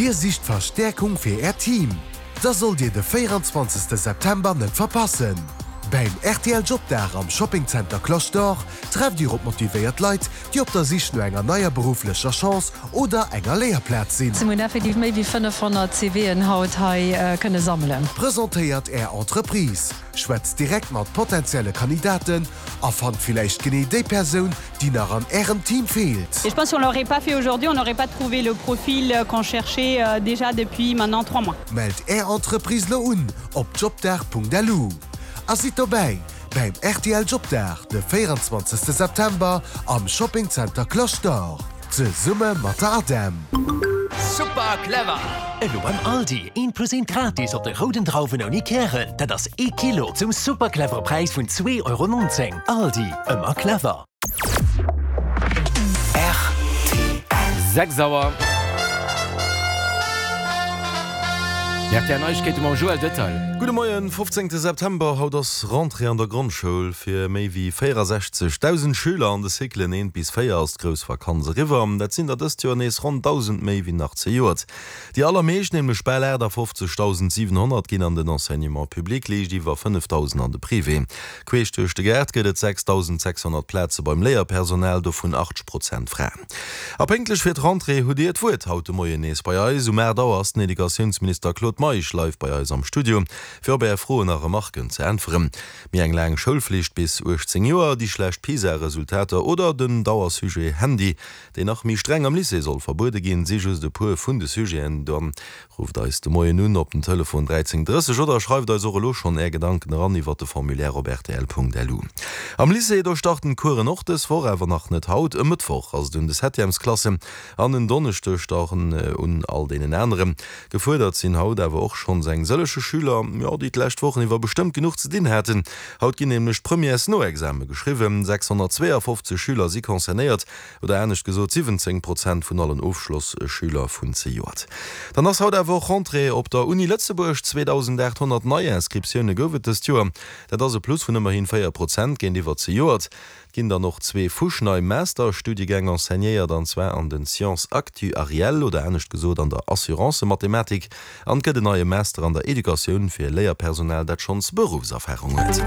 Dir sicht Verstäerkung fir Äert Team? Da sollt Dir de 24 September net verpassen! Beim rtl Jobdag am Shoppingzenter Cloche d'Or trefft Dir op motivéiert Leit, déi op der Sich no enger neier berufflecher Chance oder enger Léierplaz sinn. Mir hunn effektiv méi wéi 500 CVen haut hei kënne sammelen. Presentéiert Är Entreprise, schwätzt direkt mat potenzielle Kandidaten a fannt villäicht genee déi Persoun, déi nach an Ärem Team feelt. Et je pense si on l'aurait pas fait aujourd'hui, on n'aurait pas trouvé le profil qu'on cherchait déjà depuis maintenant 3 mois. Mellt Är Entreprise lo un op jobdag.lu a sidd dobäi bäim rtl Jobdag de 24 September am Shopping Center Cloche d'Or zesumme mat der ADEM. Super clever! Elo beim Aldi, eent plus eent gratis op de rouden Drauwen ouni Kären, dat ass ee Kilo zum super clevere Präis vun 2,19 Euro. Aldi, ëmmer clever! Rtl. 6 Auer. Déi rtl Neiegkeete mam Joël Detail. Gudde Moien, 15 September, Haut ass Rentrée an der Grondschoul. Fir méi wéi 64.000 Schüler an de Cyclen 1 bis 4 ass d'grouss Vakanz eriwwer. Dat sinn der dëst Joer nees ronn 1.000 méi wéi nach zejoert. Déi allermeescht, nämlech bal 58.700, ginn an den Enseignement public, liicht iwwer 5.000 an de Privé. Queesch duerch de Gaart gëtt et 6.600 Plaze beim Léierpersonal, dovun 80 Prozent Fraen. A pénktlech fir d'Rentrée hutt Dir d'Wuert haut de Moien nees bei eis. Um 8 Auer ass den Educatiounsminister Claude Meisch live bei eis am Studio, fir op Är Froen a Remarken ze äntweren. Méi eng laang Schoulflicht bis 18 Joer, déi schlecht PISA-Resultater oder den Dauersujet Handy, deen nach méi streng am Lycée soll verbuede ginn, si just e puer vun de Sujeten. Dann rufft eis de Moien un op den Telefon 13 30 oder schreift eis och elo schonn Är Gedanken eran iwwert de Formulaire op rtl.lu. Am Lycée, do starten d'Coursen och dës Woch, awer nach net haut. E Mëttwoch ass et un de Septièmesklassen an en Donneschdeg dann un all deenen aneren. Gefuerdert sinn haut awer och schonns eng sëllege Schüler, jo, déi d'lescht Wochen iwwer bestëmmt genuch ze dinn haten. Haut ginn nämlech d'Premièresnoexame geschriwwen. 652 Schüler si concernéiert, oder anescht gesot 17 Prozent vun allen Ofschlosschüler vun zejoert. Dann ass haut awer och Rentrée op der Uni Lëtzebuerg. 2.800 Neiinscriptioune gouf et dëst Joer. Dat ass e Plus vun ëmmerhi 4 Prozent géintiwwer zejoert. Et ginn dann och zwee fuschnei Masterstudiegäng enseignéiert, an zwar an den Sciences actuarielles, oder anescht gesot an der Assurancemathematik, an et gëtt en neie Master an der Educatioun fir Léierpersonal, dat schonns Beruffserfarung huet.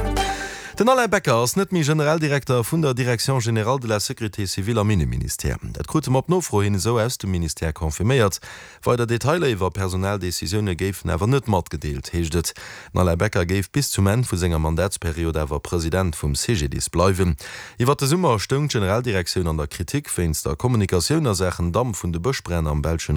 Den Alain Becker ass net méi Generaldirekter vun der Direction générale de la sécurité civile am Inneministère. Dat krute mer op Nofro hin esou aus dem Ministère confirméiert. Weider Detailer iwwer Personaldecisioune géifen awer net matgedeelt, heescht et. Den Alain Becker géif bis zum Enn vu senger Mandatsperiod awer President vum CGDIS bleiwen. Iwwer de Summer stoung d'Generaldirektioun an der Kritik wéinst der Kommunikatioun a Saachen Damp vun de Bëschbränn am belschen.